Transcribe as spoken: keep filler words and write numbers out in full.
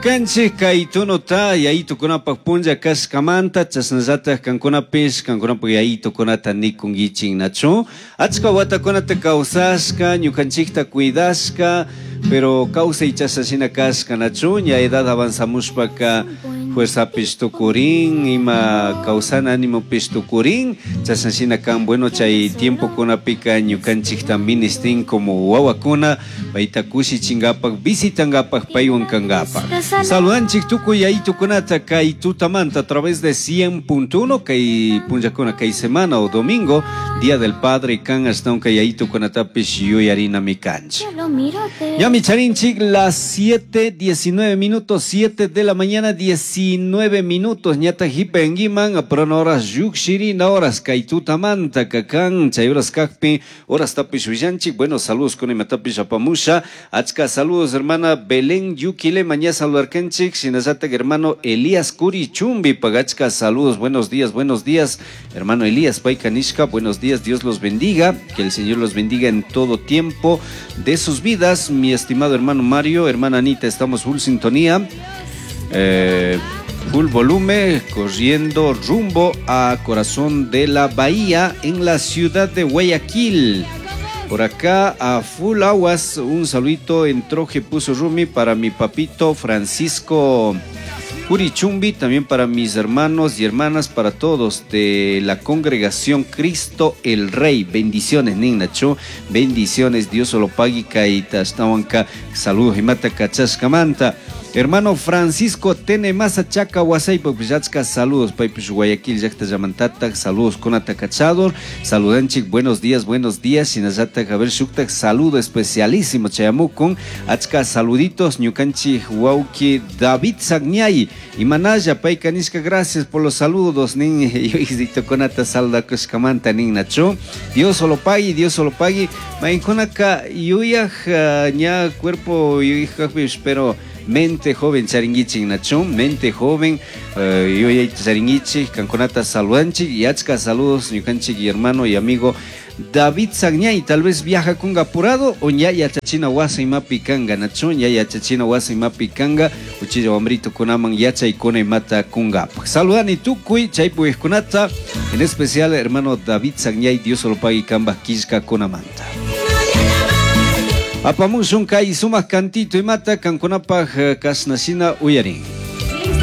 Kanchik kay tunota yayitukunapaq punlla kashkamanta chashnallataq kankunapish kankunapak yayitukunata nikunkichik nachu achka watakunata kawsashka ñukanchikta cuidashka pero kawsay chashashina kashka nachu ña edad avanzamushpaka fuerzapish tukurin ima kawsana animopish tukurin chashnashina kan bueno chay tiempokunapika ñukanchikta ministin como wawakuna payta kushichinkapak visitankapak paywan kankapak. Saludanchik tukuy yayitukunata kay tutamanta a través de cien punto uno kay punllakuna kay semana o domingo Día del Padre kan ashtawan kay yayitukunatapish yuyarinami kanchik. Ñami charinchik las siete diecinueve minutos, siete de la mañana diecinueve minutos ñata hipenguiman aprono horas yukshirina horas kay tutamanta kakan chay horas kakpi horas tapish willanchik. Bueno, saludos con imatapish apamusha achka saludos hermana Belén Yuquilema ña saludarkanchik shinallatak hermano Elías Curichumbi pagachka saludos, buenos días, buenos días hermano Elías Paikanishka, buenos días, Dios los bendiga, que el Señor los bendiga en todo tiempo de sus vidas. Mi estimado hermano Mario, hermana Anita, estamos full sintonía, eh, full volumen, corriendo rumbo a Corazón de la Bahía en la ciudad de Guayaquil. Por acá a full aguas, un saludito en Troje puso Rumi para mi papito Francisco Curichumbi, también para mis hermanos y hermanas, para todos de la congregación Cristo el Rey. Bendiciones, Ninacho. Bendiciones, Dios solo pague, kaita, ashtawanka. Saludos, imata, kachashkamanta. Hermano Francisco Tene Masa Chaca Huasaypa Pillachka, saludos, Paipish Guayaquil, Yacta Yamantata, saludos con Atacachador, saludanchik, buenos días, buenos días, Sinayata Javier Shuktak, saludo especialísimo, Chayamukun, Achka, saluditos, Ñukanchi, Huauki, David Sagñay, y Manaya, Paikanishka, gracias por los saludos, nin, yo conata saldakushkamanta, nin Nacho, Dios solo pague, Dios solo pague, Mainkonaka, yuyaj, ña cuerpo, yuyaj, pero mente joven charinguichi nacho, mente joven, uh, charinguichi, kankunata saludanchi, y achka saludos, ñukanchik y hermano y amigo David Sagñay, tal vez viaja con apurado, o ya yachachina wasa imapi kanga, nacho, ya yachachina wasa imapi kanga, uchilla wambrito kunaman yacha y kona imata kungapa. Saludani tukuy, chaypu kunata, en especial hermano David Sagñay, Dios lo pague kamba kishka kunamanta. Apamushun kay sumaq cantito imata kankunapaq kashnashina uyarin.